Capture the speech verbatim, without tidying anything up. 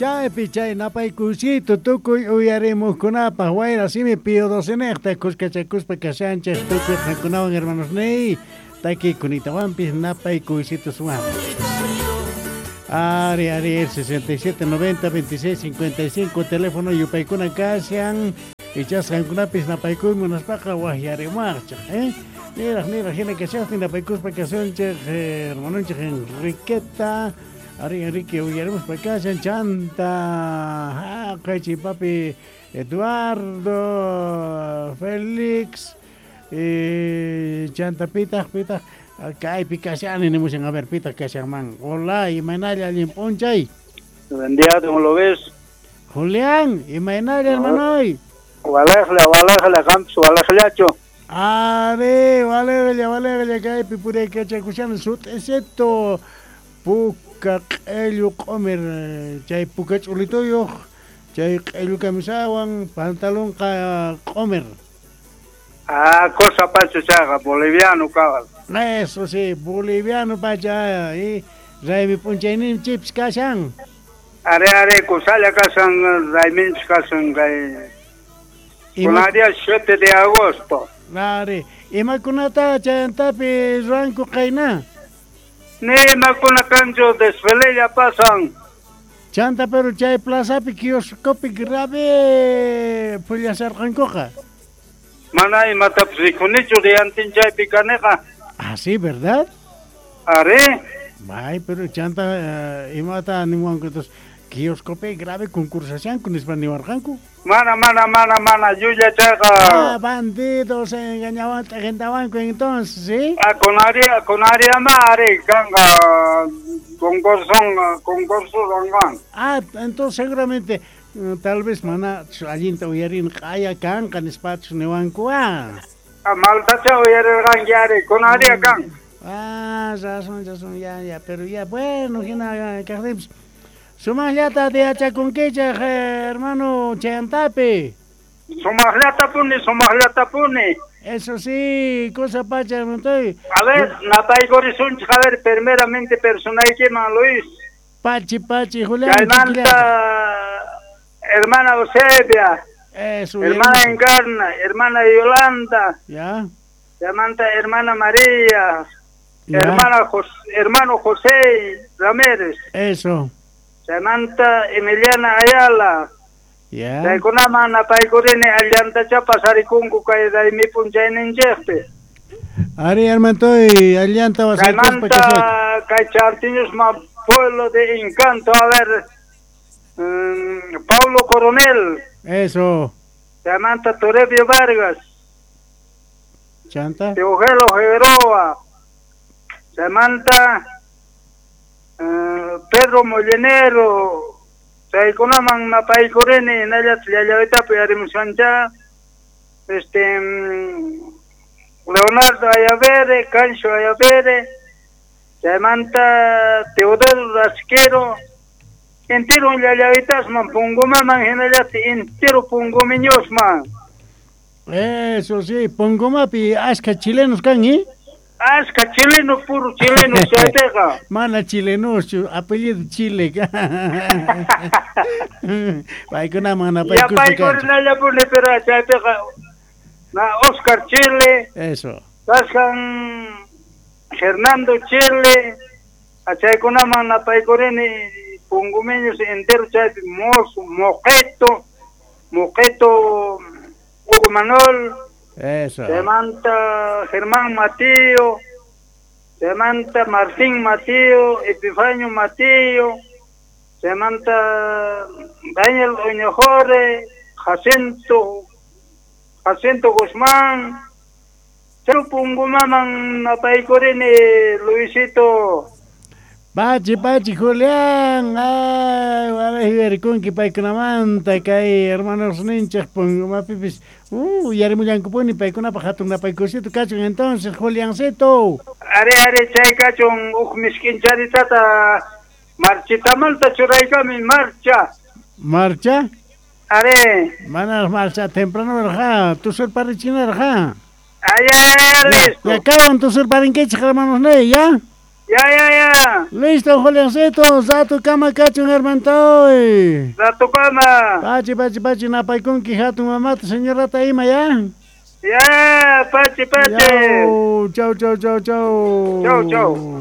Chaypi chay napaykusito tukuy uyarimuqkunapaq wayra simi Pío doce niqta kuskachakuspa kashanchik tukuy qankunawan hermanos ney takikunitawanpis napaykusituswan. Ari, ari, sesenta y siete, noventa, veintiséis, cincuenta y cinco, teléfono yupaykuna kashan. Ichas qankunapis napaykuy munaspaqa waqyarimuwaqchik, eh? Niraq, niraq, hina kashaqtin napaykuspa kashunchik, eh, hermanonchik Enriqueta. Ari, Enrique uyarimuspa kashan, chanta, haqay papi Eduardo, Félix, eh, chanta pitaq, pitaq, kaypi kashani nimushan, a ver, pitaq kashanman. Hola, imaynalla, allin p'unchay. Buen día, ¿cómo lo ves? Julián, imaynalla, hermanoy. Walejla, walejla, qampis walejllachu. Are, walejlla, walejlla, kaypi puraykachakushan sut'isito puka q'ellu q'umir chay puka ch'ulituyuq chay q'ellu camisawan pantalonqa q'umir. Ah, cosa pacha chayqa, boliviano cabal. Eso sí, boliviano pacha, y raymi p'unchayninchikpis kashan. Are, are, kusalla kashan, rayminchik kashan kay. Ima Kunan siete de agosto. Are, imakunata chayantapi ruwanku qayna? Ni imakuna kanchu, desfilella pasan. Chanta pero chay plazapi kioscopi grave pullasarqankuqa. Mana imatapis rikunichu diantin chaypi kaniqa. Ah, sí, ¿verdad? Are. Ay, pero chanta uh, imata niwanku entonces kioscopi grave concursashanku nispa niwarqanku. Mana, mana, mana, mana, llulla chayqa. Ah, bandidos engañawan t'aqintawanku entonces, ¿sí? Ah, con aria, con aria ma ari kanqa concurso, concurso ruwanqan. Ah, entonces seguramente mm, tal vez mana allinta uyarin q'aya kanqa nispachus niwanku ah. Ah, maltacha uyarirqanki ari, con aria kan. Ah, razón, razón, ya, ya, pero ya, bueno, hina kaqtinpis sumaqllata tiyachakunkichik, hermano chayantapi. Sumaqllatapuni, sumaqllatapuni. Eso sí, cosa pacha, hermano. A ver, napaykurisunchik, a ver, primeramente personaykiman, Luis. Pachi, pachi, Julián. Chaymanta, hermana Eusebia. Eso, hermana Encarna, hermana Yolanda. Ya. Chaymanta hermana María. Ya. Hermana Jos- hermano José Ramírez. Eso. Chaymanta Emiliana Ayala. Ya. Chaykunaman napaykurini allantacha pasarikunku kay raymi p'unchayninchikpi. Ari, hermanoy, allanta wasaykuspa kashayku. Chaymanta kay Chartiñusma pueblo de encanto, a ver, mm, Paulo Coronel. Eso. Chaymanta Toribio Vargas. Chanta. Teogelo Figueroa. Chaymanta eh, Pedro Molinero. Chaykunaman napaykurini hinallataq llallawitapi arimushancha este mm, Leonardo Ayavere, Cancho Ayavere, chaymanta Teodoro Rasquero, entero llallawitasman Pungumaman hinallataq entero Pungumiñosman. Eso sí, Pongomapi ashka chilenos kan, ¿eh? Ashka chileno, puro chileno chaypiqa. Mana chilenos, apellido Chile. Paykunaman napaykuspa Yapaykurinallapuni pero chaypiqa na Oscar Chile. Eso. Kashan Fernando Chile, achaykunaman napaykurini Pungumiños entero chaypi Mozo, Moqueto, Moqueto Hugo Manuel. Eso. Chaymanta Germán Matío, chaymanta Martín Matío, Epifanio Matío, chaymanta Daniel Oñojore, Jacinto, Jacinto Guzmán, Pungumaman napaykurini, Luisito. Pachi, pachi, Julián. Ay, wala paykunamanta kay hermanos ninchik Pungumapipis. Uh, yarimullankupuni paykunapaq hatun napaykusito kachun entonces, Juliancito. Are, are, chay kachun huk misk'incharitata marchitamanta churaykami marcha. Marcha? Are. Mana marcha temprano rja, tusurparichinarqa. Ay, ay, listo. Ya kawan tusurparinkichik hermanos ne, ya. Ya, ya, ya. Listo, Juliancito, Zatu kama kachun hermantoy. Zatu kama. Pachi, pachi, pachi, napaykunki hatun mamata, señorata ima, ya. Ya, pachi, pachi. Chau, chau, chau, chau. Chau, chau.